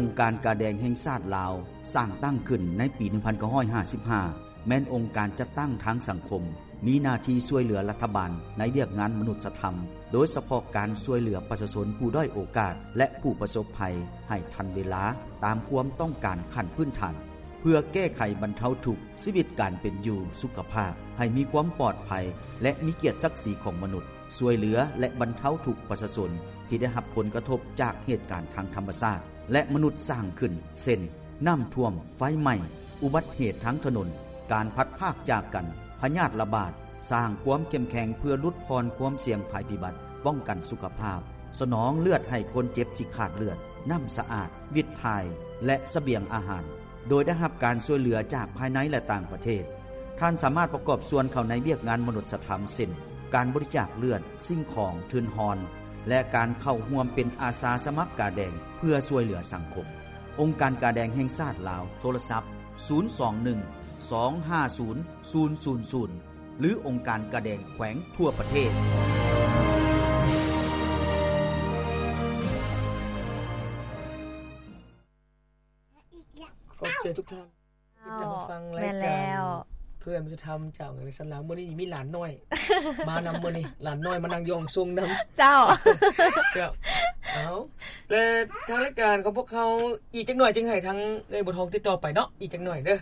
ອົງການກາແດງແຫ່ງຊາດລາວ ສ້າງຕັ້ງຂຶ້ນໃນປີໜຶ່ງພັນເກົ້າຮ້ອຍຫ້າສິບຫ້າ ແມ່ນອົງການຈັດຕັ້ງທາງສັງຄົມ ມີໜ້າທີ່ຊ່ວຍເຫຼືອລັດຖະບານໃນວຽກງານມະນຸດສະທຳ, ໂດຍສະເພາະການຊ່ວຍເຫຼືອປະຊາຊົນຜູ້ດ້ອຍໂອກາດ ແລະ ຜູ້ປະສົບໄພໃຫ້ທັນເວລາ ຕາມຄວາມຕ້ອງການຂັ້ນພື້ນຖານ ເພື່ອແກ້ໄຂບັນເທົາທຸກຊີວິດການເປັນຢູ່, ສຸຂະພາບໃຫ້ມີຄວາມປອດໄພ ແລະ ມີກຽດສັກສີຂອງມະນຸດ, ຊ່ວຍເຫຼືອ ແລະ ບັນເທົາທຸກປະຊາຊົນທີ່ໄດ້ຮັບຜົນກະທົບຈາກເຫດການທາງທຳມະຊາດ ແລະ ມະນຸດສ້າງຂຶ້ນ ເຊັ່ນ ນ້ຳຖ້ວມ, ໄຟໄໝ້, ອຸບັດເຫດທາງຖະໜົນ, ການພັດພາກຈາກກັນ, ພະຍາດລະບາດ, ສ້າງຄວາມເຂັ້ມແຂງເພື່ອຫຼຸດຜ່ອນຄວາມສ່ຽງໄພພິບັດ, ປ້ອງກັນສຸຂະພາບ, ສະໜອງເລືອດໃຫ້ຄົນເຈັບທີ່ຂາດເລືອດ, ນ້ຳສະອາດ, ວິດຖ່າຍ ແລະ ສະບຽງອາຫານ, ໂດຍໄດ້ຮັບການຊ່ວຍເຫຼືອຈາກພາຍໃນ ແລະ ຕ່າງປະເທດ. ທ່ານສາມາດປະກອບສ່ວນເຂົ້າໃນວຽກງານມະນຸດສະທຳ ເຊັ່ນ ການບໍລິຈາກເລືອດ, ສິ່ງຂອງ, ທຶນຮອນ ແລະ ການເຂົ້າຮ່ວມເປັນອາສາສະໝັກກາແດງເພື່ອຊ່ວຍເຫຼືອສັງຄົມ. ອົງການກາແດງແຫ່ງຊາດລາວ, ໂທລະສັບ ສູນສອງໜຶ່ງ ສອງຫ້າສູນ ສູນສູນສູນ ຫຼື ອົງການກາແດງແຂວງທົ່ວປະເທດ. ຂອບໃຈທຸກທ່ານທີ່ໄດ້ມາຟັງລາຍການ ແມ່ນແລ້ວ ເພື່ອມະນຸດສະທຳຈາກໂຮງຮຽນສັນລາວ. ມື້ນີ້ມີຫຼານນ້ອຍມານຳ, ມື້ນີ້ຫຼານນ້ອຍມານັ່ງຢູ່ຫ້ອງສົ່ງນຳ. ເຈົ້າ ເຈົ້າ ເອົາ ແລະ ທາງລາຍການຂອງພວກເຮົາ ອີກຈັກໜ່ອຍຈຶ່ງໃຫ້ທາງເອື້ອຍບົວທອງຕິດຕໍ່ໄປເນາະ, ອີກຈັກໜ່ອຍເດີ.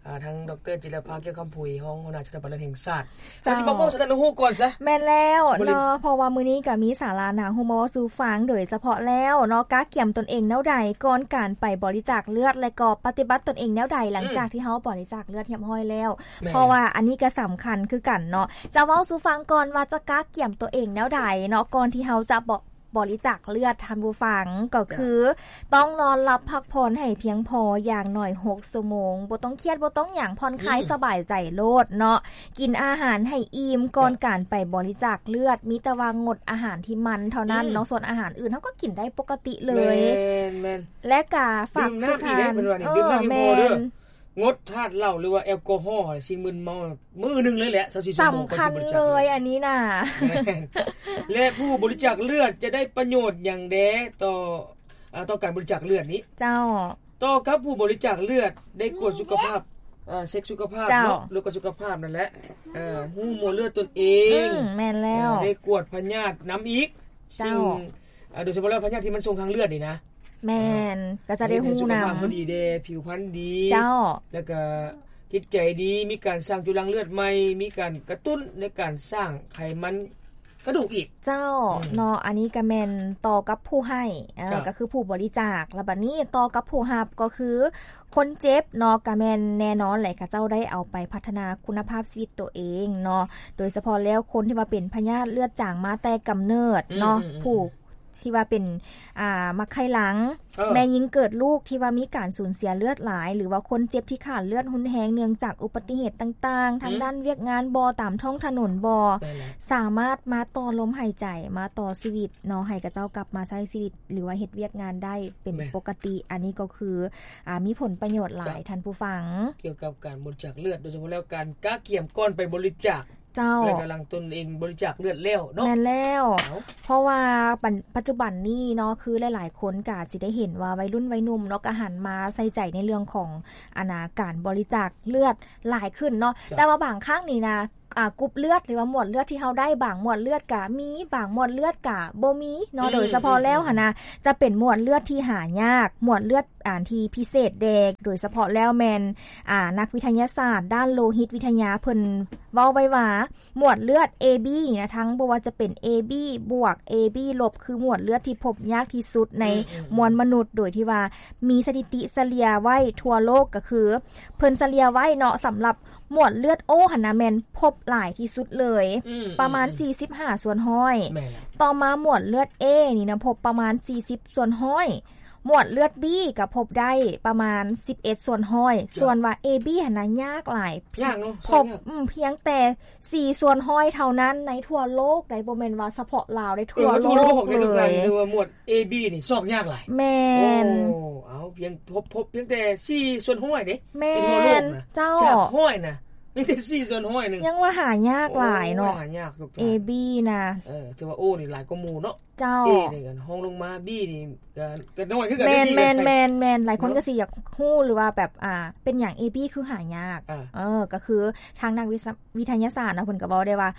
ອ່າ ທາງ ດຣ ຈິດລະພາ ກ່ຽວຄຳຜຸຍ ຮອງຫົວໜ້າສະຖາບັນເລືອດແຫ່ງຊາດ ເຈົ້າ ເຮົາຊິມາບອກສະຖານະຮູ້ກ່ອນຊະ. ແມ່ນແລ້ວເນາະ ເພາະວ່າມື້ນີ້ກໍມີສາລະໜ້າຮູ້ມາເວົ້າສູ່ຟັງ ໂດຍສະເພາະແລ້ວເນາະ ກະກຽມຕົນເອງແນວໃດກ່ອນການໄປບໍລິຈາກເລືອດ ແລະ ກໍປະຕິບັດຕົນເອງແນວໃດຫຼັງຈາກທີ່ເຮົາບໍລິຈາກເລືອດຮຽບຮ້ອຍແລ້ວ. ເພາະວ່າອັນນີ້ກໍສຳຄັນຄືກັນເນາະ ຈະເວົ້າສູ່ຟັງກ່ອນວ່າຈະກະກຽມຕົວເອງແນວໃດເນາະ ກ່ອນທີ່ເຮົາຈະບໍ ບໍລິຈາກເລືອດ ທ່ານຜູ້ຟັງ ກໍຄືຕ້ອງນອນຫຼັບພັກຜ່ອນໃຫ້ພຽງພໍ ຢ່າງໜ້ອຍຫົກຊົ່ວໂມງ, ບໍ່ຕ້ອງຄຽດ ບໍ່ຕ້ອງຫຍັງ ຜ່ອນຄາຍສະບາຍໃຈໂລດເນາະ. ກິນອາຫານໃຫ້ອີ່ມກ່ອນການໄປບໍລິຈາກເລືອດ, ມີແຕ່ວ່າງົດອາຫານທີ່ມັນເທົ່ານັ້ນເນາະ, ສ່ວນອາຫານອື່ນເຮົາກໍກິນໄດ້ປົກກະຕິເລີຍ. ແມ່ນໆ ແລະກະຝາກທຸກທ່ານ ເອີ ແມ່ນ ງົດທາດເຫຼົ້າ ຫຼືວ່າແອລກໍຮໍ ສິ່ງມຶນເມົາ ມື້ໜຶ່ງເລີຍແຫຼະ ຊາວສີ່ຊົ່ວໂມງ ສຳຄັນເລີຍອັນນີ້ນະ. ແລະ ຜູ້ບໍລິຈາກເລືອດຈະໄດ້ປະໂຫຍດຫຍັງແດ່ຕໍ່ ອາ ຕໍ່ການບໍລິຈາກເລືອດນີ້? ເຈົ້າ ຕໍ່ກັບຜູ້ບໍລິຈາກເລືອດ ໄດ້ກວດສຸຂະພາບ ອາ ເຊັກສຸຂະພາບເນາະ ຫຼືກວດສຸຂະພາບນັ້ນແຫຼະ ເອີ ຮູ້ໝວດເລືອດຕົນເອງ. ອືມ ແມ່ນແລ້ວ ເອີ ໄດ້ກວດພະຍາດນຳອີກ. ເຈົ້າ ສິ່ງ ອາ ໂດຍສະເພາະແລ້ວພະຍາດທີ່ມັນສົ່ງທາງເລືອດນີ້ນະ. ແມ່ນ ເອີ ກໍຈະໄດ້ຮູ້ນຳ ໃຫ້ສຸຂະພາບເຮົາດີແດ່ ຜິວພັນດີ. ເຈົ້າ ແລ້ວກໍຈິດໃຈດີ ມີການສ້າງຈຸລັງເລືອດໃໝ່ ມີການກະຕຸ້ນໃນການສ້າງໄຂມັນກະດູກອີກ. ເຈົ້າ ອືມ ເນາະ ອັນນີ້ກໍແມ່ນຕໍ່ກັບຜູ້ໃຫ້ ເອີ ເຈົ້າ ກໍຄືຜູ້ບໍລິຈາກ. ແລ້ວບັດນີ້ຕໍ່ກັບຜູ້ຮັບ ກໍຄືຄົນເຈັບເນາະ ກໍແມ່ນແນ່ນອນແຫຼະ ເຂົາເຈົ້າໄດ້ເອົາໄປພັດທະນາຄຸນນະພາບຊີວິດຕົວເອງເນາະ. ໂດຍສະເພາະແລ້ວຄົນທີ່ວ່າເປັນພະຍາດເລືອດຈາງມາແຕ່ກຳເນີດເນາະ ອືມໆໆ ຜູ້ ທີ່ວ່າເປັນ ອ່າ ໝາກໄຂ່ຫຼັງ ເອີ ແມ່ຍິງເກີດລູກທີ່ວ່າມີການສູນເສຍເລືອດຫຼາຍ ຫຼືວ່າຄົນເຈັບທີ່ຂາດເລືອດຮຸນແຮງເນື່ອງຈາກອຸບັດຕິເຫດຕ່າງໆ ທາງ ອືມ ດ້ານວຽກງານບໍ ຕາມທ້ອງຖະໜົນບໍ ແມ່ນແລ້ວ ສາມາດມາຕໍ່ລົມຫາຍໃຈ ມາຕໍ່ຊີວິດເນາະ ໃຫ້ເຂົາເຈົ້າກັບມາໃຊ້ຊີວິດ ຫຼືວ່າເຮັດວຽກງານໄດ້ເປັນ ແມ່ນ ປົກກະຕິ. ອັນນີ້ກໍຄື ອ່າ ມີຜົນປະໂຫຍດຫຼາຍ ເຈົ້າ ທ່ານຜູ້ຟັງ ກ່ຽວກັບການບໍລິຈາກເລືອດ ໂດຍສະເພາະແລ້ວການກະກຽມກ່ອນໄປບໍລິຈາກ ເຈົ້າ ແລະກຳລັງຕົນເອງບໍລິຈາກເລືອດແລ້ວເນາະ. ແມ່ນແລ້ວ ເອົ້າ ເພາະວ່າປັນ ປັດຈຸບັນນີ້ເນາະ ຄືຫຼາຍໆຄົນກໍອາດຊິໄດ້ເຫັນວ່າໄວລຸ້ນໄວໜຸ່ມເນາະ ກໍຫັນມາໃສ່ໃຈໃນເລື່ອງຂອງ ອັນນ່າ ການບໍລິຈາກເລືອດຫຼາຍຂຶ້ນເນາະ. ເຈົ້າ ແຕ່ວ່າບາງຄັ້ງນີ້ນະ ອ່າ ກຸ່ມເລືອດ ຫຼືວ່າໝວດເລືອດທີ່ເຮົາໄດ້ ບາງໝວດເລືອດກໍມີ ບາງໝວດເລືອດກໍບໍ່ມີເນາະ. ອືມ ໂດຍສະເພາະແລ້ວ ອືມ ຫັ້ນນະ ຈະເປັນໝວດເລືອດທີ່ຫາຍາກ ໝວດເລືອດ ອັນທີ່ພິເສດແດ່ ໂດຍສະເພາະແລ້ວແມ່ນ ອ່າ ນັກວິທະຍາສາດດ້ານໂລຫິດວິທະຍາເພິ່ນເວົ້າໄວ້ວ່າ ໝວດເລືອດ ເອ ບີ ນີ້ນະ ທັງບໍ່ວ່າຈະເປັນ ເອ ບີ ບວກ ເອ ບີ ລົບ ຄືໝວດເລືອດທີ່ພົບຍາກທີ່ສຸດໃນ ອືມໆໆ ມວນມະນຸດ ໂດຍທີ່ວ່າມີສະຖິຕິສະເລ່ຍໄວ້ທົ່ວໂລກ ກໍຄືເພິ່ນສະເລ່ຍໄວ້ເນາະ ສຳລັບໝວດເລືອດ ໂອ ຫັ້ນນະ ແມ່ນພົບຫຼາຍທີ່ສຸດເລີຍ ອືມໆໆ ປະມານສີ່ສິບຫ້າສ່ວນຮ້ອຍ. ແມ່ນແລ້ວ ຕໍ່ມາໝວດເລືອດ ເອ ນີ້ນະ ພົບປະມານສີ່ສິບສ່ວນຮ້ອຍ. ໝວດເລືອດ ບີ ກໍພົບໄດ້ປະມານສິບເອັດສ່ວນຮ້ອຍ. ເຈົ້າ ສ່ວນວ່າ ເອ ບີ ຫັ້ນນະ ຍາກຫຼາຍ ຍາກເນາະ ພົບ ອືມ ພຽງແຕ່ສີ່ສ່ວນຮ້ອຍເທົ່ານັ້ນໃນທົ່ວໂລກໃດ໋ ບໍ່ແມ່ນວ່າສະເພາະລາວໃດ໋ ເອີ ທົ່ວໂລກເລີຍ. ຖືວ່າໝວດ ເອ ບີ ນີ້ຊອກຍາກຫຼາຍ. ແມ່ນ ໂອ້ ເອົາ ພຽງ ພົບ ພົບພຽງແຕ່ສີ່ສ່ວນຮ້ອຍເດ້ ແມ່ນ ໃນທົ່ວໂລກນະ ເຈົ້າ ຈາກຮ້ອຍນະ. ມີແຕ່ສີ່ສ່ວນຮ້ອຍໜຶ່ງ ຍັງວ່າຫາຍາກຫຼາຍເນາະ ໂອ້ຍ ຫາຍາກທຸກທ່ານ ເອ ບີ ນະ ເອີ ຖືວ່າໂອນີ້ຫຼາຍກວ່າໝູ່ເນາະ ເຈົ້າ ເອນີ້ກໍຮອງລົງມາ ບີນີ້ກໍ ກໍນ້ອຍຄືກັນ ແມ່ນ ເດ້ ບີ ແມ່ນ ແມ່ນ ແມ່ນ ຫຼາຍຄົນ ເນາະ ກໍຊິຢາກຮູ້ ຫຼືວ່າແບບ ອ່າ ເປັນຫຍັງ ເອ ບີ ຄືຫາຍາກ ອ່າ ເອີ ກໍຄືທາງນັກວິຊາ ວິທະຍາສາດເນາະ ເພິ່ນກໍເວົ້າໄດ້ວ່າ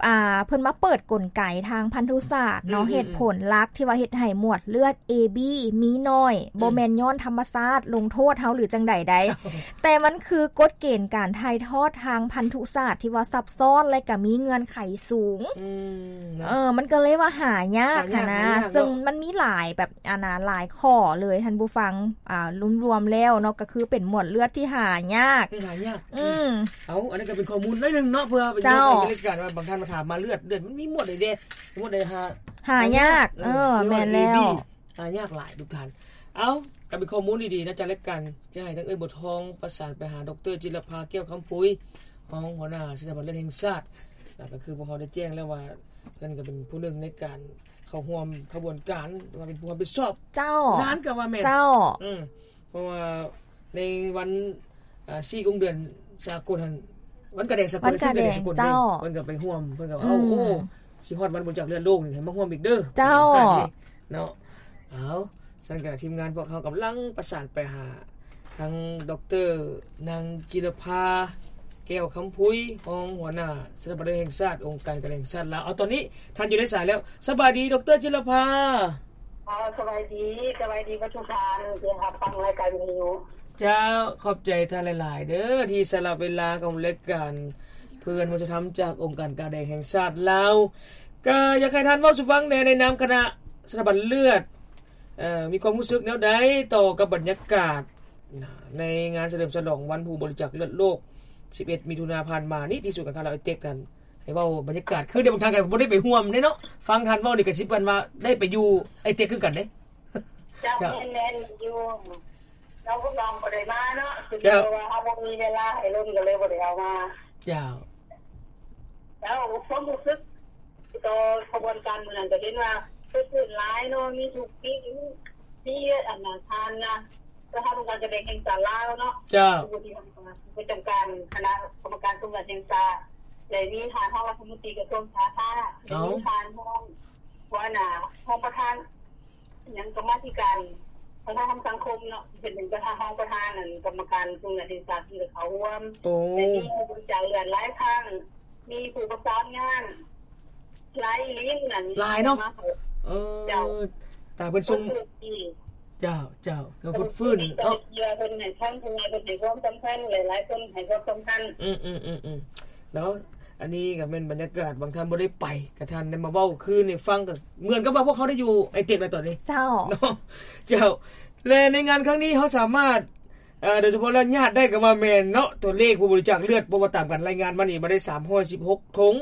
ອ່າ ເພິ່ນມາເປີດກົນໄກທາງພັນທຸສາດເນາະ ອືມໆໆ ເຫດຜົນຫຼັກທີ່ວ່າເຮັດໃຫ້ໝວດເລືອດ ເອ ບີ ມີໜ້ອຍ ອືມ ບໍ່ແມ່ນຍ້ອນທຳມະຊາດລົງໂທດເຮົາ ຫຼື ຈັ່ງໃດໃດ ແຕ່ມັນຄືກົດເກນການຖ່າຍທອດທາງພັນທຸສາດທີ່ວ່າຊັບຊ້ອນ ແລະ ກໍມີເງື່ອນໄຂສູງ ອືມ ເນາະ ເອີ ມັນກໍເລີຍວ່າຫາຍາກ ຫາຍາກ ຫັ້ນນະ ຫາຍາກເນາະ ເຊິ່ງມັນມີຫຼາຍແບບ ອັນນະ ຫຼາຍຂໍ້ເລີຍທ່ານຜູ້ຟັງ ອ່າ ລວມໆແລ້ວເນາະ ກໍຄືເປັນໝວດເລືອດທີ່ຫາຍາກ ອືມ ຫາຍາກ ອືມ ເອົາ ອັນນັ້ນກໍເປັນຂໍ້ມູນໜ້ອຍໜຶ່ງເນາະ ເພື່ອໄປ ເຈົ້າ ໃນລາຍການວ່າບາງທ່ານມາຖາມມາເລືອດ ເລືອດມັນມີໝວດໃດແດ່ ໝວດໃດຫາ ຫາຍາກ ເອີ ເອີ ແມ່ນແລ້ວ ເອບີ ຫາຍາກຫຼາຍທຸກທ່ານ ເອົາ ກໍເປັນຂໍ້ມູນດີໆນະ ຈາກລາຍການ ຈະໃຫ້ທາງເອື້ອຍບົວທອງປະສານໄປຫາ ດຣ ຈິລະພາ ແກ້ວຄຳພຸຍ ຮອງຫົວໜ້າສະຖາບັນເລືອດແຫ່ງຊາດ ແລ້ວກໍຄືພວກເຮົາໄດ້ແຈ້ງແລ້ວວ່າ ເພິ່ນກໍເປັນຜູ້ໜຶ່ງໃນການເຂົ້າຮ່ວມຂະບວນການ ວ່າເປັນຜູ້ຮັບຜິດຊອບ ເຈົ້າ ງານກໍວ່າແມ່ນ ເຈົ້າ ອືມ ເພາະວ່າໃນວັນ ອ່າ ສີ່ກຸງເດືອນສາກົນຫັ້ນ ວັນກາແດງສາກົນ ວັນກາແດງ ເຈົ້າ ເພິ່ນກໍໄປຮ່ວມ ເພິ່ນກໍວ່າ ອືມ ເອົາ ໂອ້ ຊິຮອດວັນບໍລິຈາກເລືອດໂລກນີ້ ໃຫ້ມາຮ່ວມອີກເດີ ເຈົ້າ ເນາະ ເອົາ ຊັ້ນກໍທີມງານພວກເຮົາກຳລັງປະສານໄປຫາທາງ ດຣ ນາງ ຈິລະພາ ແກ້ວຄຳພຸຍ ຮອງຫົວໜ້າສະຖາບັນເລືອດແຫ່ງຊາດ ອົງການການແຫ່ງຊາດລາວ ເອົາ ຕອນນີ້ທ່ານຢູ່ໃນສາຍແລ້ວ ສະບາຍດີ ດຣ ຈິລະພາ. ອໍ ສະບາຍດີ ສະບາຍດີເບິດທຸກທ່ານທີ່ຮັບຟັງລາຍການວິທະຍຸ. ເຈົ້າ ຂອບໃຈທ່ານຫຼາຍໆເດີ ທີ່ສະຫຼະເວລາຂອງລາຍການເພື່ອນມະນຸດສະທຳ ຈາກອົງການກາແດງແຫ່ງຊາດລາວ ກໍຢາກໃຫ້ທ່ານເວົ້າສູ່ຟັງແດ່ ໃນນາມຄະນະສະຖາບັນເລືອດ ເອີ ມີຄວາມຮູ້ສຶກແນວໃດຕໍ່ກັບບັນຍາກາດໃນງານສະເຫຼີມສະຫຼອງວັນຜູ້ບໍລິຈາກເລືອດໂລກ ສິບເອັດ ມິຖຸນາຜ່ານມານີ້ ທີ່ສູນການຄ້າລາວໄອເຕັກນັ້ນ ໃຫ້ເວົ້າບັນຍາກາດ ຄືໄດ້ບາງທ່ານກໍບໍ່ໄດ້ໄປຮ່ວມເດ້ເນາະ ຟັງທ່ານເວົ້ານີ້ກໍຊິປານວ່າໄດ້ໄປຢູ່ໄອເຕັກຄືກັນເດ້. ເຈົ້າ ເຈົ້າ ແມ່ນໆ ຢູ່ ເຈົ້າ ພວກນ້ອງບໍ່ໄດ້ມາເນາະ ເຈົ້າ ຄືວ່າເຮົາບໍ່ມີເວລາໃຫ້ລົມ ກໍເລີຍບໍ່ໄດ້ເອົາມາ. ເຈົ້າ ເຈົ້າ ຄວາມຮູ້ສຶກຕໍ່ຂະບວນການມື້ນັ້ນ ກໍເຫັນວ່າເກີດຂຶ້ນຫຼາຍເນາະ ມີທຸກປີ ມີອັນນະ ທ່ານນະ ປະທານອົງການການແດງແຫ່ງຊາດລາວເນາະ ເຈົ້າ ຜູ້ທີ່ປະຈຳການຄະນະກຳມະການສົມບັດແຫ່ງຊາດ ແລະ ມີທ່ານຮອງລັດຖະມົນຕີກະຊວງສາທາລະນະ ແລະ ມີທ່ານຮອງຫົວໜ້າ ຮອງປະທານຫຍັງ ກຳມາທິການວັດທະນະທຳສັງຄົມເນາະ ເປັນປະທານ ຮອງປະທານອັນກຳມະການສົມບັດແຫ່ງຊາດ ເພິ່ນກໍເຂົ້າຮ່ວມ ໂອ້ ແລະ ມີຜູ້ບໍລິຈາກເລືອດຫຼາຍຄັ້ງ ມີຜູ້ປະສານງານ ຫຼາຍອີ່ຫຼີນັ້ນ ຫຼາຍເນາະ ເອີ ເຈົ້າ ຕາເພິ່ນສົ່ງ ເພິ່ນ ເຈົ້າ ເຈົ້າ ກໍຟຶດຟື້ນເນາະ ເພິ່ນໃຫ້ຄວາມສຳຄັນ ເພິ່ນໃຫ້ຄວາມສຳຄັນຫຼາຍໆຄົນໃຫ້ຄວາມສຳຄັນ ອືມໆໆໆ ເນາະ ອັນນີ້ກໍແມ່ນບັນຍາກາດ ບາງທ່ານບໍ່ໄດ້ໄປ ກໍທ່ານໄດ້ມາເວົ້າຄືນໃຫ້ຟັງ ກໍເໝືອນກັບວ່າພວກເຮົາໄດ້ຢູ່ໄອເຕັກແລ້ວຕອນນີ້ ເຈົ້າ ເນາະ ເຈົ້າ ແລະ ໃນງານຄັ້ງນີ້ເຮົາສາມາດ ເອີ ໂດຍສະເພາະແລ້ວຍາດໄດ້ກໍວ່າແມ່ນເນາະ ຕົວເລກຜູ້ບໍລິຈາກເລືອດ ເພາະວ່າຕາມການລາຍງານມານີ້ ມາໄດ້ສາມຮ້ອຍສິບຫົກຖົງ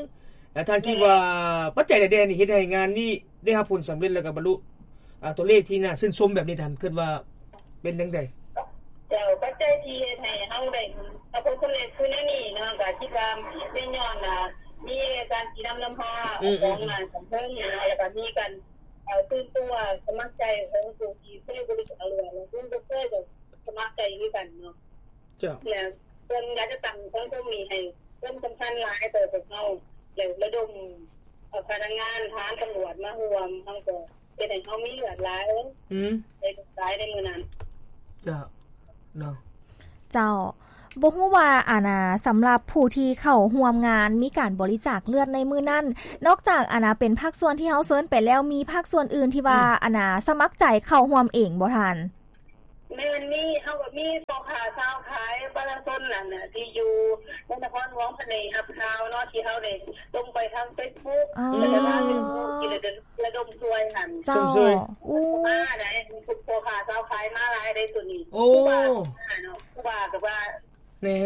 ແລະ ທ່ານຄິດວ່າ ແມ່ນ ປັດໄຈໃດໆນີ້ເຮັດໃຫ້ງານນີ້ໄດ້ຮັບຜົນສຳເລັດ ແລ້ວກໍບັນລຸ ອາ ຕົວເລກທີ່ໜ້າຊື່ນຊົມແບບນີ້ ທ່ານຄິດວ່າເປັນຈັ່ງໃດ? ເຈົ້າ ປັດໄຈທີ່ເຮັດໃຫ້ເຮົາໄດ້ຮັບຜົນສຳເລັດຄືແນວນີ້ເນາະ ກໍຄິດວ່າແມ່ນຍ້ອນ ອາ ມີການຊີ້ນຳນຳພາ ອືມໆໆ ຂອງ ອາ ຂັ້ນເທິງເນາະ ແລ້ວກໍມີການ ເອີ ຕື່ນຕົວສະໝັກໃຈຂອງຜູ້ທີ່ເຄີຍບໍລິຈາກເລືອດ ແລະ ຜູ້ບໍ່ເຄີຍກໍສະໝັກໃຈຄືກັນເນາະ. ເຈົ້າ ແລ້ວເພິ່ນຢາກຈະຕັ້ງສັງຄົມນີ້ໃຫ້ຄວາມສຳຄັນຫຼາຍຕໍ່ພວກເຮົາ ແລ້ວລະດົມ ເອີ ພະນັກງານທະຫານຕຳຫຼວດມາຮ່ວມ ເຮົາກໍເຮັດໃຫ້ເຮົາມີເລືອດຫຼາຍ ອືມ ໄດ້ຫຼາຍໃນມື້ນັ້ນ. ເຈົ້າ ເນາະ ເຈົ້າ ບໍ່ຮູ້ວ່າ ອັນນ່າ ສຳລັບຜູ້ທີ່ເຂົ້າຮ່ວມງານມີການບໍລິຈາກເລືອດໃນມື້ນັ້ນ ນອກຈາກ ອັນນ່າ ເປັນພາກສ່ວນທີ່ເຮົາເຊີນໄປແລ້ວ ມີພາກສ່ວນອື່ນທີ່ວ່າ ອືມ ອັນນ່າ ສະໝັກໃຈເຂົ້າຮ່ວມເອງບໍ່ທ່ານ? ແມ່ນ ມີ ເຮົາກໍມີພໍ່ຄ້າຊາວຂາຍ ປະຊາຊົນນັ້ນນະ ທີ່ຢູ່ໃນນະຄອນຫຼວງພະແນງຮັບຂ່າວເນາະ ທີ່ເຮົາໄດ້ລົງໄປທາງເຟສບຸກ ອໍ ແລ້ວກໍທາງເຟສບຸກທີ່ລະດົມ ລະດົມຊ່ວຍຫັ້ນ ເຈົ້າ ຊົມເຊີຍ ໂອ້ ມາໄດ້ ມີພວກພໍ່ຄ້າຊາວຂາຍມາຫຼາຍເດ້ ໂຕນີ້ ໂອ້ ຄູບາເນາະ ຄູບາກໍວ່າ ແນ່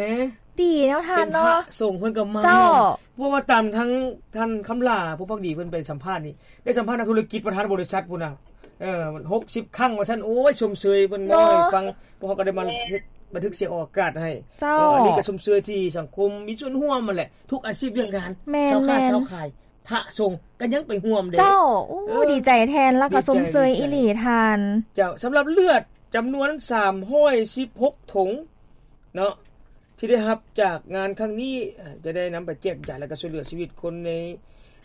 ດີແນວທ່ານເນາະ ເປັນພະສົງເພິ່ນກໍມາ ເຈົ້າ ເພາະວ່າຕາມທາງທ່ານຄຳຫຼ້າ ຜູ້ພັກດີເພິ່ນໄປສຳພາດນີ້ ໄດ້ສຳພາດນັກທຸລະກິດ ປະທານບໍລິສັດພຸ້ນນະ ເອີ ຫົກສິບຄັ້ງວ່າຊັ້ນ ໂອ້ຍ ຊົມເຊີຍເພິ່ນເວົ້າໃຫ້ຟັງ ເນາະ ພວກເຮົາກໍໄດ້ມາເຮັດບັນທຶກສຽງອອກອາກາດໃຫ້ ເຈົ້າ ເອີ ອັນນີ້ກໍຊົມເຊີຍທີ່ສັງຄົມມີສ່ວນຮ່ວມຫັ້ນແຫຼະ ທຸກອາຊີບວຽກງານ ແມ່ນໆ ຊາວຄ້າຊາວຂາຍ ພະສົງກໍຍັງໄປຮ່ວມເດ້ ເຈົ້າ ໂອ້ ເອີ ດີໃຈແທນ ແລ້ວກໍ ດີໃຈ ຊົມເຊີຍອີ່ຫຼີທ່ານ ເຈົ້າ ສຳລັບເລືອດຈຳນວນສາມຮ້ອຍສິບຫົກຖົງເນາະ ທີ່ໄດ້ຮັບຈາກງານຄັ້ງນີ້ ຈະໄດ້ນຳໄປແຈກຢາຍ ແລ້ວກໍຊ່ວຍເຫຼືອຊີວິດຄົນໃນ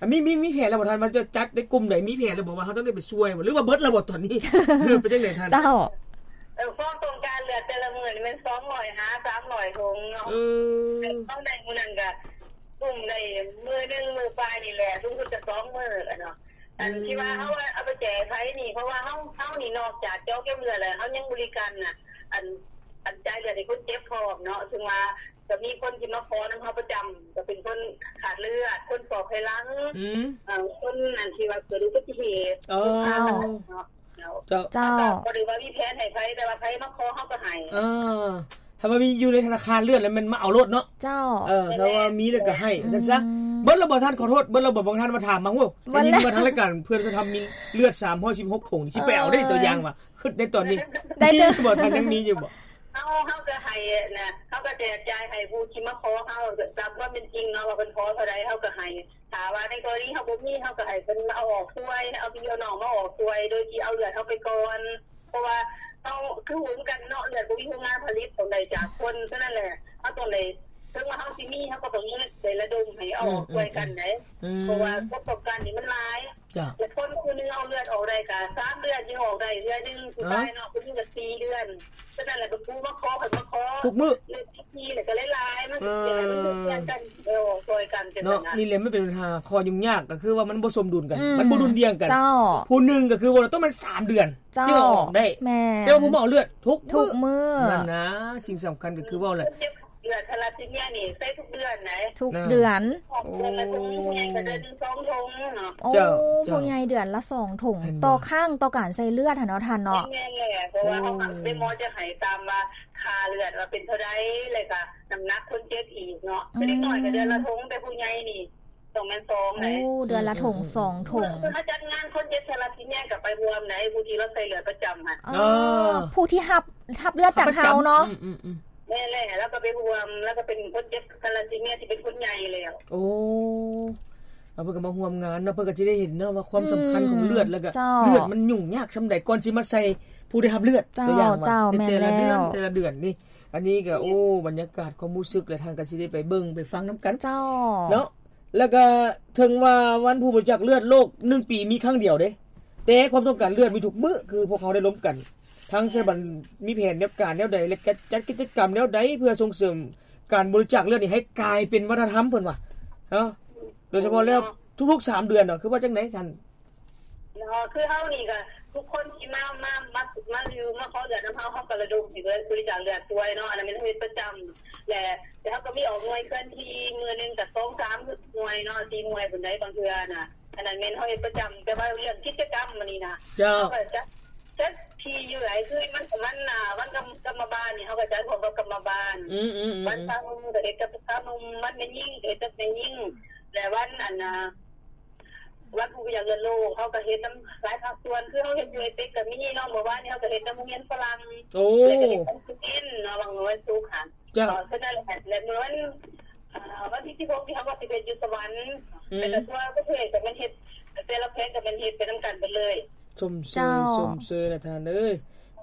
ອາ ມີ ມີ ມີແຜນແລ້ວບໍ່ທ່ານ ວ່າຈະຈັດໃນກຸ່ມໃດ ມີແຜນແລ້ວບໍ່ ວ່າເຮົາຕ້ອງໄດ້ໄປຊ່ວຍບໍ່ ຫຼືວ່າເບິດແລ້ວບໍ່ຕອນນີ້? ເປັນຈັ່ງໃດທ່ານ? ເຈົ້າ ເອີ ຄວາມຕ້ອງການເລືອດແຕ່ລະມື້ນີ້ແມ່ນສອງຮ້ອຍຫາສາມຮ້ອຍຖົງເນາະ. ເອີ ຕ້ອງໄດ້ມື້ນັ້ນກໍກຸ່ມໄດ້ມື້ໜຶ່ງມື້ປາຍນີ້ແຫຼະ ສູງສຸດກໍສອງມື້ແຫຼະເນາະ. ອັນ ອືມ ທີ່ວ່າເຮົາເອົາໄປແຈກໃຜນີ້ ເພາະວ່າເຮົາ ເຮົານີ້ນອກຈາກເຈາະເກັບເລືອດແລ້ວ ເຮົາຍັງບໍລິການນະ ອັນ ອັນ ຈ່າຍເລືອດໃຫ້ຄົນເຈັບພ້ອມເນາະ ເຊິ່ງວ່າກໍມີຄົນທີ່ມາຂໍນຳເຮົາປະຈຳ ກໍເປັນຄົນຂາດເລືອດ ຄົນຟອກໄຂຫຼັງ ອືມ ເອີ ຄົນອັນທີ່ວ່າເກີດອຸບັດຕິເຫດ ເອີ ເນາະ ເຈົ້າ ເຈົ້າ ເຮົາກໍບໍ່ໄດ້ວ່າມີແຜນໃຫ້ໃຜ ແຕ່ວ່າໃຜມາຂໍເຮົາກໍໃຫ້ ເອີ ຖ້າວ່າມີຢູ່ໃນທະນາຄານເລືອດແລ້ວແມ່ນມາເອົາໂລດເນາະ. ເຈົ້າ ເອີ ແມ່ນແຫຼະ ຖ້າວ່າມີແລ້ວກໍໃຫ້ ອືມ ຈັ່ງຊັ້ນ. ເບິດແລ້ວບໍ່ທ່ານ? ຂໍໂທດ ເບິດແລ້ວບໍ່? ບາງທ່ານມາຖາມມາ ໂອ້ ໄດ້ຍິນວ່າທາງລາຍການເພື່ອນສັນທຳມີເລືອດສາມຮ້ອຍສິບຫົກຖົງ ຊິໄປເອົາເດ້ ເອີ ຕົວຢ່າງວ່າ ຄຶດໄດ້ຕອນນີ້ ໄດ້ເລີຍ ບໍ່ ທ່ານຍັງມີຢູ່ບໍ່? ເຮົາ ເຮົາກໍໃຫ້ນະ ເຮົາກໍແຈກຈ່າຍໃຫ້ຜູ້ທີ່ມາຂໍເຮົາ ຕາມຄວາມເປັນຈິງເນາະ ວ່າເພິ່ນຂໍເທົ່າໃດ ເຮົາກໍໃຫ້. ຖ້າວ່າໃນກໍລະນີເຮົາບໍ່ມີ ເຮົາກໍໃຫ້ເພິ່ນມາເອົາອອກຊ່ວຍ ເອົາພີ່ເອົານ້ອງມາອອກຊ່ວຍ ໂດຍທີ່ເອົາເລືອດເຮົາໄປກ່ອນ ເພາະວ່າເຮົາຄືຮູ້ຄືກັນເນາະ ເລືອດບໍ່ມີໂຮງງານຜະລິດ ຕ້ອງໄດ້ຈາກຄົນ. ສະນັ້ນແຫຼະ ເຮົາຕ້ອງໄດ້ ເຖິງວ່າເຮົາຊິມີ ເຮົາກໍຕ້ອງໄດ້ລະດົມໃຫ້ເອົາອອກ ອືມ ຊ່ວຍກັນເດ້ ອືມ ເພາະວ່າປະສົບການນີ້ມັນຫຼາຍ. ເຈົ້າ ແລະຄົນຜູ້ໜຶ່ງເອົາເລືອດອອກໄດ້ກະສາມເດືອນຈຶ່ງອອກໄດ້ເທື່ອໜຶ່ງ ຜູ້ຊາຍເນາະ ຜູ້ຍິງກະສີ່ເດືອນ. ສະນັ້ນແຫຼະ ເປັນຜູ້ມາຂໍ ເພິ່ນມາຂໍທຸກມື້ ເລືອດທີ່ແລ້ວກໍຫຼາຍໆ ມັນຊິເປັນ ເອີ ມັນເປັນການ ເອີ ຊ່ອຍກັນ ຈັ່ງ ເນາະ ຊັ້ນນະ. ນີ້ແຫຼະ ມັນເປັນບັນຫາຂໍ້ຫຍຸ້ງຍາກ ກໍຄືວ່າມັນບໍ່ສົມດຸນກັນ ອືມ ມັນບໍ່ດຸ່ນດ່ຽງກັນ. ເຈົ້າ ຜູ້ໜຶ່ງກໍຄືວ່າຕ້ອງແມ່ນສາມເດືອນ ເຈົ້າ ຈຶ່ງອອກໄດ້ ແມ່ນ ແຕ່ວ່າຜູ້ມາເອົາເລືອດທຸກ ທຸກມື້ ມື້ ນັ້ນນະ ສິ່ງສຳຄັນກໍຄືເວົ້າແຫຼະ ເລືອດທາລາຊີເມຍນີ້ໃສ່ທຸກເດືອນໃດ ທຸກເດືອນ ເດືອນລະຖົງ ຜູ້ໃຫຍ່ກໍເດືອນໜຶ່ງສອງຖົງເນາະ. ໂອ້ ເຈົ້າ ເຈົ້າ ຜູ້ໃຫຍ່ເດືອນລະສອງຖົງ ເຫັນບໍ່ ຕໍ່ຄັ້ງ ຕໍ່ການໃສ່ເລືອດຫັ້ນເນາະທ່ານເນາະ. ແມ່ນແຫຼະ ເພາະວ່າເຮົາກໍໄດ້ໝໍຈະໃຫ້ຕາມວ່າຄ່າເລືອດວ່າເປັນເທົ່າໃດ ແລ້ວກໍນ້ຳໜັກຄົນເຈັບອີກເນາະ. ອືມ ເດັກນ້ອຍກໍເດືອນລະຖົງ ແຕ່ຜູ້ໃຫຍ່ນີ້ ຕ້ອງແມ່ນສອງໃດ. ໂອ້ ເດືອນລະຖົງ ອືມ ສອງຖົງ. ເພິ່ນເຂົາຈັດງານຄົນເຈັບທາລາຊີເມຍກໍໄປຮ່ວມໃດ ຜູ້ທີ່ລາວໃສ່ເລືອດປະຈຳຫັ້ນ. ເອີ ເອີ ຜູ້ທີ່ຮັບ ຮັບເລືອດຈາກເຮົາເນາະ. ອືມໆໆ ແມ່ນແຫຼະ ລາວກໍໄປຮ່ວມ ລາວກໍເປັນຄົນເຈັບທາລາຊີເມຍທີ່ເປັນຄົນໃຫຍ່ແລ້ວ. ໂອ້ ລາວເພິ່ນກໍມາຮ່ວມງານເນາະ ເພິ່ນກໍຊິໄດ້ເຫັນເນາະວ່າຄວາມສຳຄັນຂອງເລືອດ ອືມ ແລ້ວກໍ ເຈົ້າ ເລືອດມັນຫຍຸ້ງຍາກສ່ຳໃດ ກ່ອນຊິມາໃສ່ຜູ້ໄດ້ຮັບເລືອດ. ເຈົ້າ ຕົວຢ່າງວ່າ ເຈົ້າ ແມ່ນແລ້ວ ແຕ່ລະເດືອນ ແຕ່ລະເດືອນນີ້ ອັນນີ້ກໍ ໂອ້ ບັນຍາກາດຄວາມຮູ້ສຶກ ແລະ ທ່ານກໍຊິໄດ້ໄປເບິ່ງໄປຟັງນຳກັນ ເຈົ້າ ເນາະ. ແລ້ວກໍເຖິງວ່າວັນຜູ້ບໍລິຈາກເລືອດໂລກໜຶ່ງປີມີຄັ້ງດຽວເດ້ ແຕ່ຄວາມຕ້ອງການເລືອດມີທຸກມື້ ຄືພວກເຮົາໄດ້ລົມກັນ ທາງສະຖາບັນມີແຜນແນວການແນວໃດ ແລະ ຈັດ ຈັດກິດຈະກຳແນວໃດ ເພື່ອສົ່ງເສີມການບໍລິຈາກເລືອດນີ້ໃຫ້ກາຍເປັນວັດທະນະທຳ ເພິ່ນວ່າເນາະ ໂດຍສະເພາະແລ້ວທຸກໆສາມເດືອນເນາະ ຄືວ່າຈັ່ງໃດທ່ານ? ເນາະ ຄືເຮົານີ້ກໍທຸກຄົນທີ່ມາ ມາ ມາ ມາຢູ່ ມາຂໍເລືອດນຳເຮົາ ເຮົາກໍລະດົມໃຫ້ເລີຍ ບໍລິຈາກເລືອດຊ່ວຍເນາະ ອັນນັ້ນແມ່ນເຮົາເຮັດປະຈຳ ແລະ ແລະເຮົາກໍມີອອກໜ່ວຍເຄື່ອນທີ່ ມື້ໜຶ່ງກໍສອງສາມໜ່ວຍເນາະ ສີ່ໜ່ວຍພຸ້ນໃດ ບາງເທື່ອນະ ອັນນັ້ນແມ່ນເຮົາເຮັດປະຈຳ. ແຕ່ວ່າເລື່ອງກິດຈະກຳມື້ນີ້ນະ ເຈົ້າ ເຮົາກໍຈັດ ຈັດທີ່ຢູ່ຫຼາຍ ຄືມັນ ມັນ ອ່າ ວັນກຳ ກຳມະບານນີ້ ເຮົາກໍຈັດຮ່ວມກັບກຳມະບານ ອືມໆໆ ວັນຊາວໜຸ່ມກໍເຮັດກັບຊາວໜຸ່ມ ວັນແມ່ຍິງກໍເຮັດກັບແມ່ຍິງ ແລະ ວັນ ອັນ ອ່າ ວັນຜູ້ບໍລິຈາກເລືອດໂລກ ເຮົາກໍເຮັດນຳຫຼາຍພາກສ່ວນ ຄືເຮົາເຮັດຢູ່ໄອເປັກກໍມີເນາະ ເມື່ອວານນີ້ເຮົາກໍເຮັດນຳໂຮງຮຽນຝຣັ່ງ ໂອ້ ແລ້ວກໍເຮັດນຳເຊເວັນເນາະ ວັນ ວັນສຸກຫັ້ນ ເຈົ້າ ເອີ ເທົ່ານັ້ນແຫຼະ ແລະ ມື້ວັນ ອ່າ ວັນທີສິບຫົກນີ້ເຮົາກໍຊິເຮັດຢູ່ສະຫວັນ ອືມ ແລ້ວກໍທົ່ວປະເທດກໍແມ່ນເຮັດ ແຕ່ລະແຂວງກໍແມ່ນເຮັດໄປນຳກັນເບິດເລີຍ. ຊົມເຊີຍ ເຈົ້າ ຊົມເຊີຍນະທ່ານເອີຍ.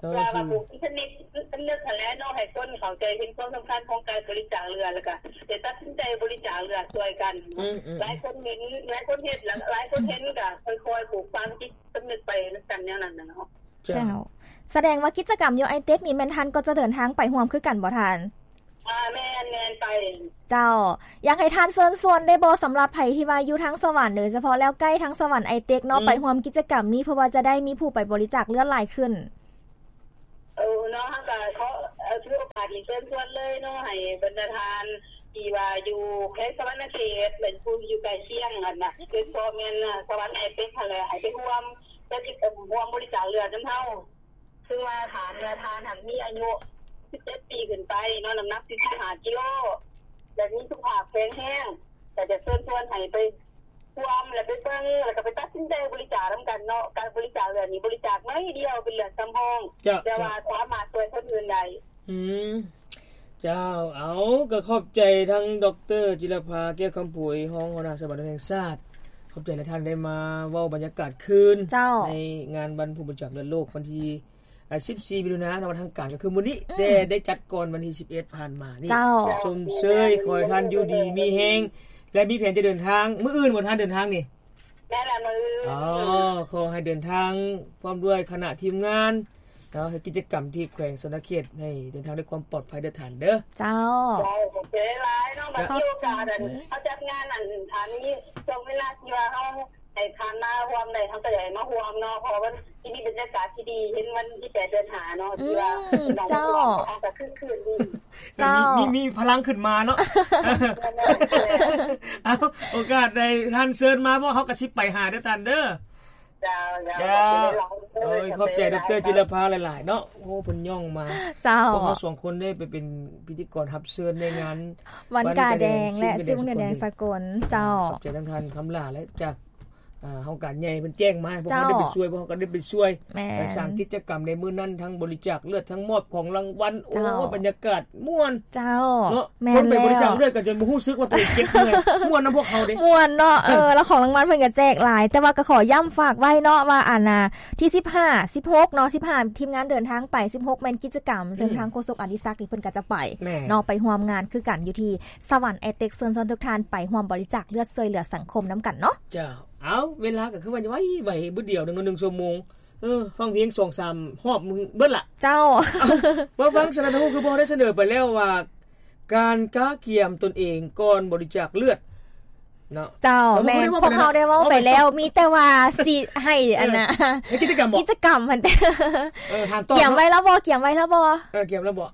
ເຈົ້າ ວ່າ ວ່າ ທີ່ ເປັນເທກນິກ ເປັນເລື່ອງຫັ້ນແຫຼະເນາະ ໃຫ້ຄົນເຂົ້າໃຈເຫັນຄວາມສຳຄັນຂອງການບໍລິຈາກເລືອດ ແລ້ວກະໄດ້ຕັດສິນໃຈບໍລິຈາກເລືອດຊ່ວຍກັນ. ອືມໆໆ ຫຼາຍຄົນເຫັນ ຫຼາຍຄົນເຮັດ ຫຼາຍຄົນເຫັນກະຄ່ອຍໆປູກຝັງຈິດສຳນຶກໄປນຳກັນແນວນັ້ນນະເນາະ. ເຈົ້າ ເຈົ້າ ສະແດງວ່າກິດຈະກຳຢູ່ໄອເຕັກນີ້ແມ່ນທ່ານກໍຈະເດີນທາງໄປຮ່ວມຄືກັນບໍ່ທ່ານ? ອ່າ ແມ່ນໆ ໄປ. ເຈົ້າ ຢາກໃຫ້ທ່ານເຊີນຊວນໄດ້ບໍ່ ສຳລັບໃຜທີ່ວ່າຢູ່ທາງສະຫວັນ ໂດຍສະເພາະແລ້ວໃກ້ທາງສະຫວັນໄອເຕັກເນາະ ອືມ ໄປຮ່ວມກິດຈະກຳນີ້ ເພື່ອວ່າຈະໄດ້ມີຜູ້ໄປບໍລິຈາກເລືອດຫຼາຍຂຶ້ນ? ເອີ ເນາະ ເຮົາກໍຂໍ ເອີ ຖືໂອກາດນີ້ເຊີນຊວນເລີຍເນາະ ໃຫ້ບັນດາທ່ານທີ່ວ່າຢູ່ແຂວງສະຫວັນນະເຂດ ແລະ ຜູ້ທີ່ຢູ່ໃກ້ຄຽງຫັ້ນນະ ໂດຍສະເພາະແມ່ນສະຫວັນໄອເຕັກຫັ້ນແຫຼະ ໃຫ້ໄປຮ່ວມ ແລະ ຊິ ເອີ ຮ່ວມບໍລິຈາກເລືອດນຳເຮົາ. ຄືວ່າຖ້າເມື່ອທ່ານຫັ້ນມີອາຍຸສິບເຈັດປີຂຶ້ນໄປເນາະ ນ້ຳໜັກສີ່ສິບຫ້າກິໂລ ແລະ ມີສຸຂະພາບແຂງແຮງ ກໍຈະເຊີນຊວນໃຫ້ໄປຮ່ວມ ແລະ ໄປເບິ່ງ ແລ້ວກໍໄປຕັດສິນໃຈບໍລິຈາກນຳກັນເນາະ. ການບໍລິຈາກເລືອດນີ້ ບໍລິຈາກໜ້ອຍດຽວ ເປັນເລືອດສຳຮອງ ເຈົ້າ ແຕ່ວ່າ ເຈົ້າ ສາມາດຊ່ວຍຄົນອື່ນໄດ້. ອືມ ເຈົ້າ ເອົາ ກໍຂອບໃຈທາງ ດຣ ຈິລະພາ ແກ້ວຄຳຜຸຍ ຮອງຫົວໜ້າສະຫວັນແຫ່ງຊາດ ຂອບໃຈຫຼາຍ ທ່ານໄດ້ມາເວົ້າບັນຍາກາດຄືນ ເຈົ້າ ໃນງານວັນຜູ້ບໍລິຈາກເລືອດໂລກ ວັນທີ ອ່າ ສິບສີ່ມິຖຸນາເນາະ ວັນທາງການກໍຄືມື້ນີ້ ອືມ ແຕ່ໄດ້ຈັດກ່ອນວັນທີສິບເອັດຜ່ານມານີ້. ເຈົ້າ ຊົມເຊີຍ ຂໍໃຫ້ທ່ານຢູ່ດີມີແຮງ ແລະ ມີແຜນຈະເດີນທາງ ມື້ອື່ນບໍ່ທ່ານເດີນທາງນີ້? ແມ່ນລະ ມື້ອື່ນ. ອໍ ຂໍໃຫ້ເດີນທາງພ້ອມດ້ວຍຄະນະທີມງານເນາະ ເຮັດກິດຈະກຳທີ່ແຂວງສະຫວັນນະເຂດ ໃຫ້ເດີນທາງດ້ວຍຄວາມປອດໄພເດີທ່ານເດີ. ເຈົ້າ ເຈົ້າ ຂອບໃຈຫຼາຍເນາະ ມາມີໂອກາດ ເຮົາຈັດງານອັນ ຖ້າມີຊ່ວງເວລາທີ່ວ່າເຮົາ ໃຫ້ທ່ານມາຮ່ວມໄດ້ ເຮົາກໍຢາກໃຫ້ມາຮ່ວມເນາະ ເພາະວ່າມັນຊິມີບັນຍາກາດທີ່ດີ ເຫັນວັນທີແປດເດືອນຫ້າເນາະ ອືມ ທີ່ວ່າ ເຈົ້າ ເຮົາກໍຄຶກຄື້ນດີ. ເຈົ້າ ມີ ມີ ມີພະລັງຂຶ້ນມາເນາະ. ເອົາ ໂອກາດໃດທ່ານເຊີນມາເນາະ ເຮົາກໍຊິໄປຫາເດີທ່ານເດີ. ເຈົ້າ ເຈົ້າ ເຈົ້າ ຂອບໃຈຫຼາຍໆ ໂອ້ຍ ຂອບໃຈ ຂອບໃຈ ດຣ ຈິລະພາ ຫຼາຍໆເນາະ. ໂອ້ ເພິ່ນຍ້ອງມາ. ເຈົ້າ ພວກເຮົາສອງຄົນໄດ້ໄປເປັນພິທີກອນຮັບເຊີນໃນງານ ວັນກາແດງ ແລະ ຊື້ວງເດືອນແດງສາກົນ. ເຈົ້າ ຂອບໃຈທາງທ່ານຄຳຫຼ້າ ແລະ ຈາກ ອ່າ ຫ້ອງການໃຫຍ່ເພິ່ນແຈ້ງມາ ພວກເຮົາໄດ້ໄປຊ່ວຍ ພວກເຮົາກໍໄດ້ໄປຊ່ວຍ ແມ່ນ ໄປສ້າງກິດຈະກຳໃນມື້ນັ້ນ ທັງບໍລິຈາກເລືອດ ທັງມອບຂອງລາງວັນ. ໂອ້ຍ ບັນຍາກາດມ່ວນ. ເຈົ້າ ເນາະ ແມ່ນ ຄົນໄປບໍລິຈາກເລືອດກໍຈະບໍ່ຮູ້ສຶກວ່າຕົວເອງເຈັບເມື່ອຍ ມ່ວນນຳພວກເຮົາເດ້. ມ່ວນເນາະ. ເອີ ແລ້ວຂອງລາງວັນເພິ່ນກໍແຈກຫຼາຍ ແຕ່ວ່າກໍຂໍຢ້ຳຝາກໄວ້ເນາະ ວ່າອັນນ່າ ທີສິບຫ້າ ສິບຫົກເນາະ ສິບຫ້າ ທີມງານເດີນທາງໄປ ສິບຫົກ ແມ່ນກິດຈະກຳ ເຊິ່ງ ອືມ ທາງໂຄສົກອະດິສັກນີ້ເພິ່ນກໍຈະໄປ ແມ່ນ ເນາະ ໄປຮ່ວມງານຄືກັນຢູ່ທີ່ສະຫວັນແອເຕັກ ເຊີນຊວນທຸກທ່ານໄປຮ່ວມບໍລິຈາກເລືອດຊ່ວຍເຫຼືອສັງຄົມນຳກັນເນາະ. ເຈົ້າ ເອົາ ເວລາກໍຄືວ່າໄວໆ ບຶດດຽວໜຶ່ງ ໜຶ່ງຊົ່ວໂມງ. ເອີ ຟັງເພງສອງສາມຮອບເບິດລະ. ເຈົ້າ ເອົາ ມາຟັງສະນັ້ນ ຮູ້ຄືພວກເຮົາໄດ້ສະເໜີໄປແລ້ວວ່າ ການກະກຽມຕົນເອງກ່ອນບໍລິຈາກເລືອດເນາະ. ເຈົ້າ ແມ່ນ ພວກເຮົາໄດ້ເວົ້າໄປແລ້ວ ມີແຕ່ວ່າຊິໃຫ້ອັນນ່າ ເອີ ໃຫ້ກິດຈະກຳບໍ? ກິດຈະກຳຫັ້ນ ເອີ ຖາມຕອບ ກຽມໄວ້ແລ້ວບໍ່? ກຽມໄວ້ແລ້ວບໍ່? ເອີ ກຽມແລ້ວບໍ່?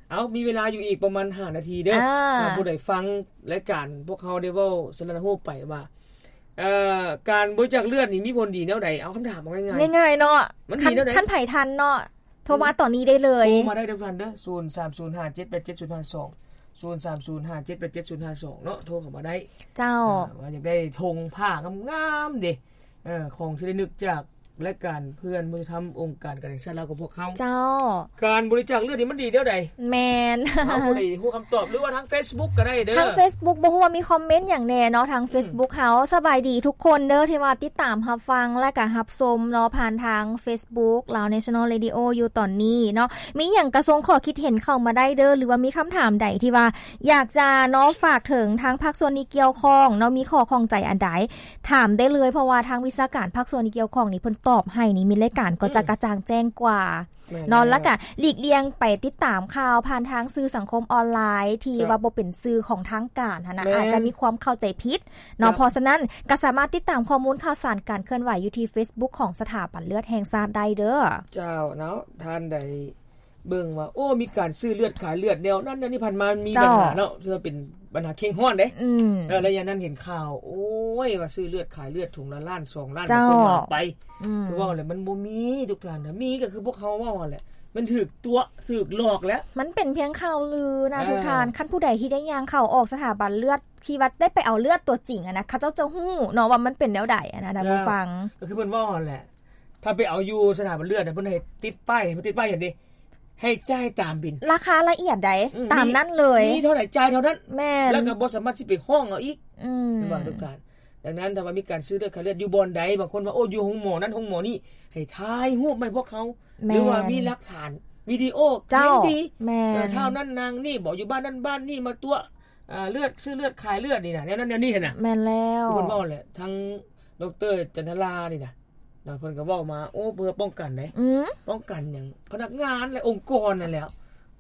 ເອົາ ມີເວລາຢູ່ອີກປະມານຫ້ານາທີເດີ ອ່າ ຖ້າຜູ້ໃດຟັງລາຍການພວກເຮົາໄດ້ເວົ້າສະນະຮູບໄປວ່າ ເອີ ການບໍລິຈາກເລືອດນີ້ມີຜົນດີແນວໃດ? ເອົາຄຳຖາມເອົາງ່າຍໆ ງ່າຍໆເນາະ ມັນດີແນວໃດ? ຄັນ ຄັນໃຜທັນເນາະ ໂທມາຕອນນີ້ໄດ້ເລີຍ ໂທມາໄດ້ເດີທ່ານເດີ ສູນສາມສູນຫ້າເຈັດແປດເຈັດສູນຫ້າສອງ ສູນສາມສູນຫ້າເຈັດແປດເຈັດສູນຫ້າສອງເນາະ ໂທເຂົ້າມາໄດ້. ເຈົ້າ ອ່າ ວ່າຢາກໄດ້ຖົງຜ້າງາມໆເດ້ ເອີ ຂອງທີ່ລະນຶກຈາກລາຍການເພື່ອມະນຸດທຳ ອົງການການແຫ່ງຊາດລາວຂອງພວກເຮົາ. ເຈົ້າ ການບໍລິຈາກເລືອດນີ້ມັນດີແນວໃດ? ແມ່ນ ເຮົາບໍ່ໄດ້ຮູ້ຄຳຕອບ ຫຼືວ່າທາງເຟສບຸກກໍໄດ້ເດີ ທາງເຟສບຸກ ບໍ່ຮູ້ວ່າມີຄອມເມັນຫຍັງແດ່ເນາະ ທາງເຟສບຸກເຮົາ. ສະບາຍດີທຸກຄົນເດີທີ່ວ່າຕິດຕາມຮັບຟັງ ແລະກະຮັບຊົມເນາະ ຜ່ານທາງເຟສບຸກ Lao National Radio ຢູ່ຕອນນີ້ເນາະ. ມີຫຍັງກະສົ່ງຂໍ້ຄິດເຫັນເຂົ້າມາໄດ້ເດີ ຫຼືວ່າມີຄຳຖາມໃດທີ່ວ່າ ຢາກຈະເນາະ ຝາກເຖິງທາງພາກສ່ວນທີ່ກ່ຽວຂ້ອງເນາະ ມີຂໍ້ຂ້ອງໃຈອັນໃດ ຖາມໄດ້ເລີຍ ເພາະວ່າທາງວິຊາການພາກສ່ວນທີ່ກ່ຽວຂ້ອງນີ້ ເພິ່ນຕອບໃຫ້ນີ້ ມິດລາຍການກໍຈະກະຈ່າງແຈ້ງກວ່າເນາະ. ແລ້ວກະຫຼີກລ່ຽງໄປຕິດຕາມຂ່າວຜ່ານທາງສື່ສັງຄົມອອນລາຍ ທີ່ວ່າບໍ່ເປັນສື່ຂອງທາງການຫັ້ນນະ ອາດຈະມີຄວາມເຂົ້າໃຈຜິດເນາະ. ເພາະສະນັ້ນ ກະສາມາດຕິດຕາມຂໍ້ມູນຂ່າວສານການເຄື່ອນໄຫວຢູ່ທີ່ເຟສບຸກຂອງສະຖາບັນເລືອດແຫ່ງຊາດໄດ້ເດີ. ເຈົ້າເນາະ ທ່ານໃດ ເບິ່ງວ່າ ໂອ້ ມີການຊື້ເລືອດຂາຍເລືອດແນວນັ້ນແນວນີ້ ຜ່ານມາມັນມີບັນຫາເນາະ ຖືວ່າເປັນບັນຫາເຄັ່ງຮ້ອນເດ້. ອືມ ເອີ ໄລຍະນັ້ນເຫັນຂ່າວ ໂອ້ຍ ວ່າຊື້ເລືອດຂາຍເລືອດ ຖົງລະລ້ານສອງລ້ານ ເຈົ້າ ເພິ່ນວ່າໄປ. ອືມ ຄືເວົ້າແຫຼະ ມັນບໍ່ມີທຸກທ່ານນະ ມີກໍຄືພວກເຮົາເວົ້າຫັ້ນແຫຼະ ມັນຖືກຕົວະ ຖືກຫຼອກແຫຼະ. ມັນເປັນພຽງຂ່າວລືນະ ເອີ ທຸກທ່ານ. ຄັນຜູ້ໃດທີ່ໄດ້ຍ່າງເຂົ້າອອກສະຖາບັນເລືອດ ທີ່ວ່າໄດ້ໄປເອົາເລືອດຕົວຈິງຫັ້ນນະ ເຂົາເຈົ້າຈະຮູ້ເນາະວ່າມັນເປັນແນວໃດຫັ້ນນະ ທ່ານຜູ້ຟັງ. ກໍຄືເພິ່ນເວົ້າຫັ້ນແຫຼະ ຖ້າໄປເອົາຢູ່ສະຖາບັນເລືອດ ເພິ່ນໃຫ້ຕິດປ້າຍ ເພິ່ນຕິດປ້າຍຫຍັງເດ ໃຫ້ຈ່າຍຕາມບິນ ລາຄາລະອຽດໃດ໋ ອືມ ຕາມນັ້ນເລີຍ ມີເທົ່າໃດຈ່າຍເທົ່ານັ້ນ. ແມ່ນ ແລ້ວກໍບໍ່ສາມາດຊິໄປຮ້ອງເອົາອີກ. ອືມ ເຫັນບໍ່ທຸກທ່ານ? ດັ່ງນັ້ນ ຖ້າວ່າມີການຊື້ເລືອດຂາຍເລືອດຢູ່ບ່ອນໃດ ບາງຄົນວ່າ ໂອ້ ຢູ່ໂຮງໝໍນັ້ນໂຮງໝໍນີ້ ໃຫ້ຖ່າຍຮູບມາໃຫ້ພວກເຮົາ ແມ່ນ ຫຼືວ່າມີຫຼັກຖານວິດີໂອ ເຈົ້າ ຍັງດີ. ແມ່ນ ເອີ ທ້າວນັ້ນນາງນີ້ບໍ ຢູ່ບ້ານນັ້ນບ້ານນີ້ ມາຕົວະ ອ່າ ເລືອດ ຊື້ເລືອດຂາຍເລືອດນີ້ນະ ແນວນັ້ນແນວນີ້ຫັ້ນນະ. ແມ່ນແລ້ວ ຄືເພິ່ນເວົ້າແຫຼະ ທັງ ດຣ ຈັນທະລານີ້ນະ ນະ ເພິ່ນກໍເວົ້າມາ ໂອ້ ເພື່ອປ້ອງກັນເດ້. ອືມ ປ້ອງກັນຫຍັງ? ພະນັກງານ ແລະ ອົງກອນນັ້ນແຫຼະ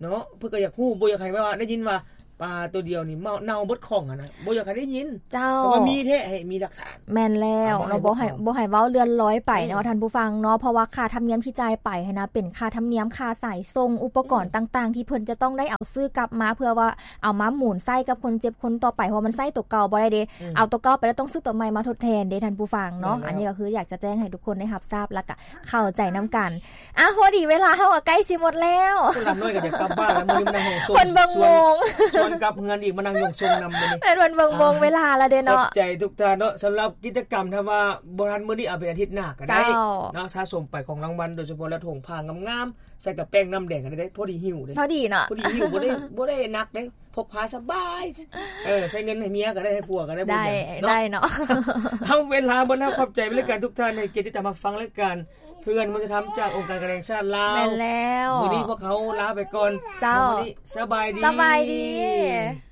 ເນາະ ເພິ່ນກໍຢາກຮູ້ ບໍ່ຢາກໃຫ້ແບບວ່າໄດ້ຍິນວ່າປາຕົວດຽວນີ້ເນົ່າເບິດຂ້ອງຫັ້ນນະ ບໍ່ຢາກໃຫ້ໄດ້ຍິນ. ເຈົ້າ ເພາະວ່າມີແທ້ໃຫ້ມີຫຼັກຖານ. ແມ່ນແລ້ວເນາະ ບໍ່ໃຫ້ ບໍ່ໃຫ້ເວົ້າເລື່ອນລອຍໄປເນາະ ອືມ ທ່ານຜູ້ຟັງເນາະ ເພາະວ່າຄ່າທຳນຽມທີ່ຈ່າຍໄປຫັ້ນນະ ເປັນຄ່າທຳນຽມ ຄ່າສາຍສົ່ງ ອຸປະກອນ ອືມ ຕ່າງໆ ທີ່ເພິ່ນຈະຕ້ອງໄດ້ເອົາຊື້ກັບມາ ເພື່ອວ່າ ເອົາມາໝູນໃຊ້ກັບຄົນເຈັບຄົນຕໍ່ໄປ ເພາະວ່າມັນໃຊ້ຕົວເກົ່າບໍ່ໄດ້ເດ້. ອືມ ເອົາຕົວເກົ່າໄປແລ້ວຕ້ອງຊື້ຕົວໃໝ່ມາທົດແທນເດ້ທ່ານຜູ້ຟັງເນາະ. ແມ່ນແລ້ວ ອັນນີ້ກໍຄືຢາກຈະແຈ້ງໃຫ້ທຸກຄົນໄດ້ຮັບຊາບ ແລ້ວກະເຂົ້າໃຈນຳກັນ. ອ່ະ ພໍດີເວລາເຮົາກໍໃກ້ຊິໝົດແລ້ວ. ຄົນລຳນ້ອຍກໍຢາກກັບບ້ານແລ້ວ ມື້ນີ້ມານັ່ງຫ້ອງຊົງ ເພິ່ນເບິ່ງໂມງ ຊວນກັບເຮືອນອີກ ມານັ່ງຫ້ອງຊົງນຳມື້ນີ້. ແມ່ນ ເພິ່ນເບິ່ງໂມງເວລາແລ້ວເດ້ເນາະ. ຂອບໃຈທຸກທ່ານເນາະ ສຳລັບກິດຈະກຳ ຖ້າວ່າບໍ່ທັນມື້ນີ້ ເອົາເປັນອາທິດໜ້າກໍໄດ້ເນາະ. ສະສົມໄປຂອງລາງວັນ ໂດຍສະເພາະແລ້ວຖົງຜ້າງາມໆ ໃສ່ກັບແປ້ງນ້ຳແດງກໍໄດ້ ພໍດີຫິ້ວເດ້ ພໍດີເນາະ ພໍດີຫິ້ວ ບໍ່ໄດ້ ບໍ່ໄດ້ໜັກເດ້ ພໍ ກພາສະບາຍ ເອີ ໃຊ້ເງິນໃຫ້ເມຍກໍໄດ້ ໃຫ້ຜົວກໍໄດ້ ໄດ້ ບໍ່ເປັນຫຍັງເນາະ ໄດ້ເນາະ. ເຮົາເວລາໝົດແລ້ວ ຂອບໃຈລາຍການທຸກທ່ານ ໃຫ້ກຽດຕິດຕາມຮັບຟັງລາຍການເພື່ອນມະນຸດທຳ ຈາກອົງການກະແຫ່ງຊາດລາວ. ແມ່ນແລ້ວ ມື້ນີ້ພວກເຮົາລາໄປກ່ອນ ເຈົ້າ ວັນນີ້ສະບາຍດີ ສະບາຍດີ.